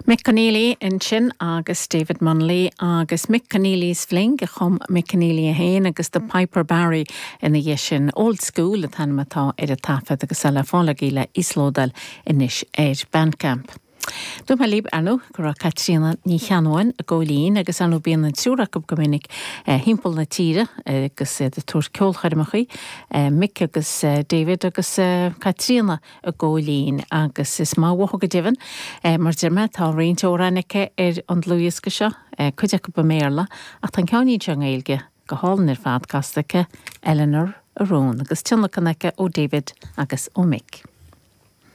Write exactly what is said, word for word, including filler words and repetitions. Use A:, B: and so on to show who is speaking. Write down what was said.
A: Mick Conneely ansin agus David Munnelly agus Mick Conneely's Fling a chum Mick Conneely é féin agus The Piper Barry ina dhiaidh sin Old School an t-ainm atá ar an taifead agus le fáil le íoslódáil anois ar Bandcamp. Dúirt mé libh ar ndóigh go raibh Caitríona Ní Cheannabháin i gCóilín agus anú bíonn an triúr acu go minic timpeall na tíre agus iad ag tabhairt ceolchoirmeacha Mick agus David agus Caitríona i gCóilín agus is maith uathu go deimhin mar deir mé tá roinnt amhrán aici ar an dlúthdhiosca seo cuid acu i mBéarla ach tá ceann seo i nGaeilge go hálainn ar fad casta aici Eleanor Arón agus tionlacan aici ó David agus ó Mick.